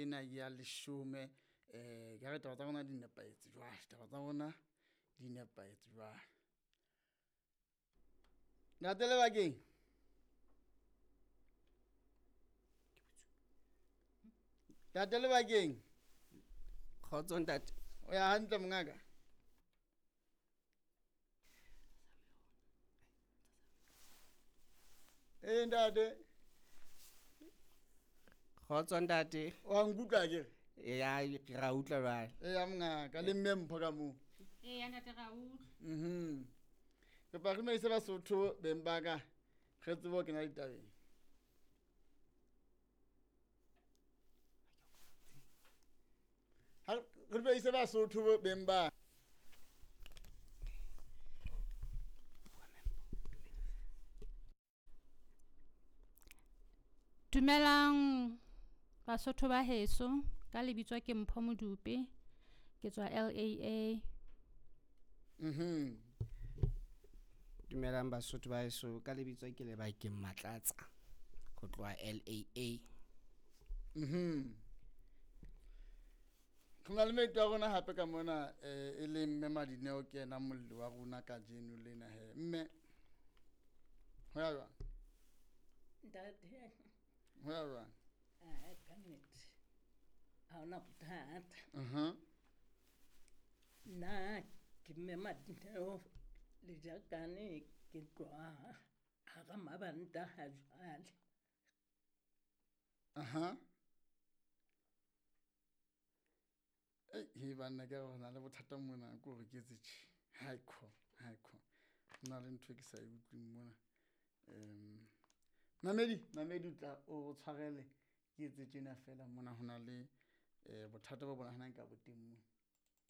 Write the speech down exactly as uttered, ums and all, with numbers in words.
ena ya leshome. Um ka re taba tsa rona di nepahetse jwale, taba tsa rona di nepahetse jwale. Ntate Lebakeng. Ntate Lebakeng. Kgotso ntate. O ya hantle mongaka? Eh ntate. Kgotso ntate. Wa nkutlwa ke re? Ya ra utlwa jwale. Eh ya mongaka le mme Mpho ka moo. Eh ya ntate ra utlwa. Mhm. Re pa re dumedise Basotho beng ba ka. Re tsebe ho kena ditabeng. Ha re dumedise Basotho beng ba. Dumelang Basotho ba heso, ka lebitso ke Mpho Modupe, ke tswa L A A. Mhm. Dumelang Basotho ba heso, ka lebitso ke Lebakeng Matlatsa, ho tloha L A A. Mhm. Re na le maeto a rona hape ka mona, eh, e leng mme Madineo ke yena molli wa rona kajeno lena he. Mme, ho ya jwang? Ntate. Ho ya jwang? Ah, ka nnete. Ha hona bothata. Mhm. Nna ke mme Madineo Lejakane, ke tloha hara Mabanta ha jwale. Aha. Ei, he banna ke re ho na le bothata mona, ke hore ke etse tjhe. Haikho, haikho. Ho na le ntho e ke sa e utlwing mona. Em, Mamedi, Mamedi o tla o tshwarele ke etse tjena feela mona ho na le, eh, bothata bo bonahalang ka bo teng mona.